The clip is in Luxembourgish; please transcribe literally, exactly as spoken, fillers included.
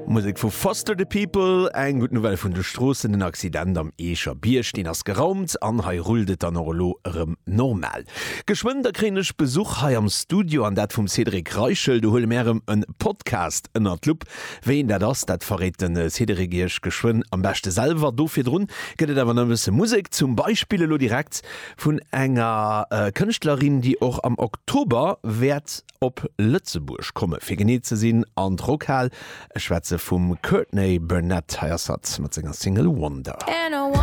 Musek vu Foster the People, eng gutt Nouvelle vun de Stroossen, den Accident am Eecher Bierg, deen ass geraumt an hei rullt et dann och elo erëm normal. Geschwënn da kréien ech Besuch hei am Studio an dat vum Cédric Reichel. Do huele mär erëm e Podcast ënnert d'Lupp. Wéi een dat ass, dat verréit de Cédric iech geschwënn am beschte selwer. Do virdrun gëtt et awer nach e bësse Musek, zum Beispill elo direkt vun enger Kënschtlerin, déi och am Oktober wäert op Lëtzebuerg komme, fir genee ze sinn an d'Rockhal. Ech schwätze vum Courtney Barnett. Hei ass hatt mat senger Single Wonder. And I